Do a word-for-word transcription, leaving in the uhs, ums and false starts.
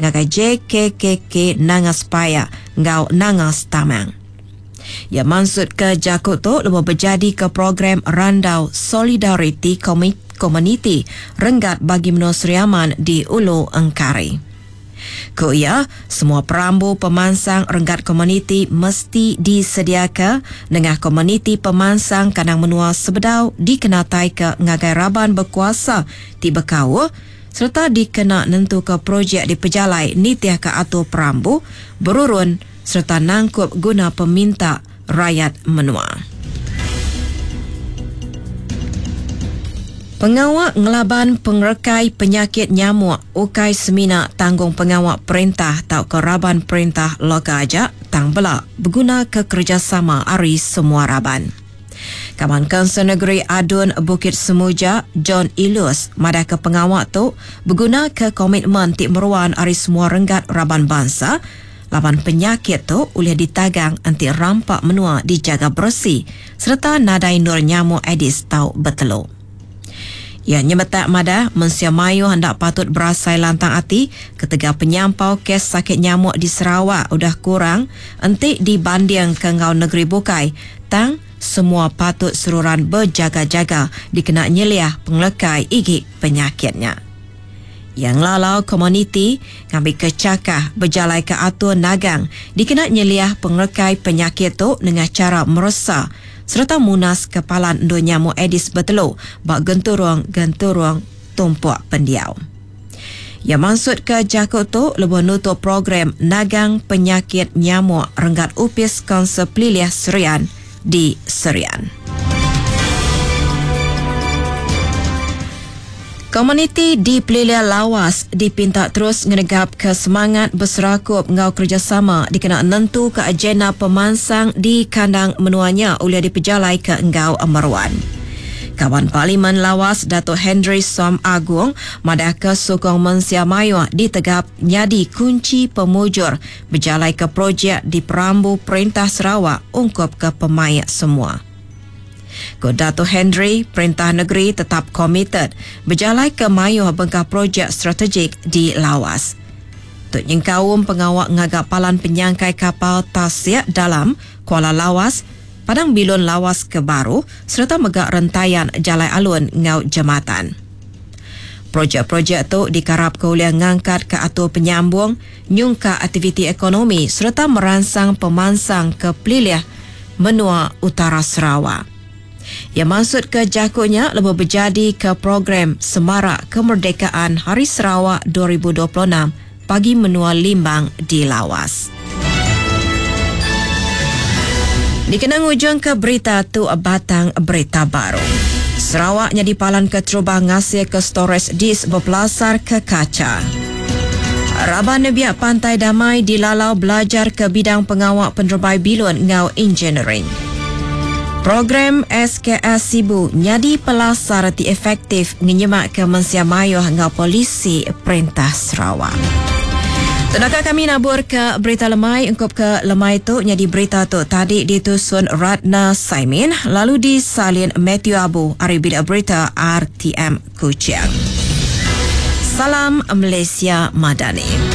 ngagai J K K K Nanga Sepayak enggau Nanga Stamang. Iya mansutka jaku tu lebuh bejadika program Randau Solidariti Komuniti Renggat Bagi Menua Sri Aman di Ulu Engkari. Ku iya, semua perambu pemansang renggat komuniti mesti disediaka nengah Komuniti Pemansang Kandang Menua sebedau dikenataika ngagai raban bekuasa ti bekaul sereta dikena nentuka projek dipejalai nitihka atur perambu, berurun sereta nangkup guna peminta rayat menua. Pengawa ngelaban pengerekai penyakit nyamuk ukai semina tanggung pengawa perintah tauka raban perintah lokal aja, tang bela begunaka kerejasama ari semua raban. Kaban Kaunsil Negeri Adun Bukit Semuja, John Ilus, madahka pengawa tu begunaka komitmen ti meruan ari semua renggat raban bansa laban penyakit tu ulih ditagang enti rampa menua dijaga beresi sereta nadai endur nyamuk Aedes tau betelu. Iya nyemetak madah mensia mayuh enda patut berasai lantang ati ketegal penyampau kes sakit nyamuk di Sarawak udah kurang enti dibandingka enggau negeri bukai, tang semua patut seruran bejaga-jaga dikena nyeliah pengelekai igi penyakit nya. Iya ngelalau komuniti ngambika chakah bejalaika atur nagang dikena nyeliah pengelekai penyakit tu nengah chara meresa sereta munaska palan endur nyamuk Aedes betelu ba genturung-genturung tumpuk pendiau. Iya mansutka jaku tu lebuh nutup program nagang penyakit nyamuk renggat Opis Kaunsil Pelilih Serian di Serian. Komuniti di Pelilih Lawas dipinta terus ngenegapka semangat beserakup enggau kerejasama dikena nentuka agenda pemansang di kandang menua nya ulih dipejalaika enggau meruan. Kaban Parlimen Lawas Datuk Henry Som Agong madahka sukung mensia mayuh ditegap nyadi kunchi pemujur bejalaika projek diperambu Perintah Sarawak ungkup ke pemaik semua. Ku Datuk Henry, Perintah Negeri tetap komited bejalaika mayuh bengkah projek strategik di Lawas. Tu nyengkaum pengawa ngaga palan penyangkai kapal tasik dalam Kuala Lawas, Padang Bilun Lawas ke baru sereta mega rentayan jalai alun enggau jematan. Projek-projek tu dikarapka ulih ngangkatka atur penyambung, nyungkak aktiviti ekonomi sereta meransang pemansang ke pelilih menua utara Sarawak. Iya mansutka jaku nya lebuh bejadika program Semarak Kemerdekaan Hari Sarawak dua ribu dua puluh enam pagi menua Limbang di Lawas. Dikena ngujungka berita tu batang berita baru. Sarawak nyadi palan keterubah ngasilka storage disk bepelasar ke kaca. Raban Nebiak Pantai Damai dilalau belajar ke bidang pengawa penerebai bilun enggau engineering. Program S K S Sibu nyadi pelasar ti efektif ngenyemakka mensia mayuh enggau polisi Perintah Sarawak. Tenaka kami nabur ke berita lemai ungkup ke lemai tu nyadi berita tu tadi ditusun Ratna Saimin lalu disalin Matthew Abu ari bilik berita R T M Kuching. Salam Malaysia Madani.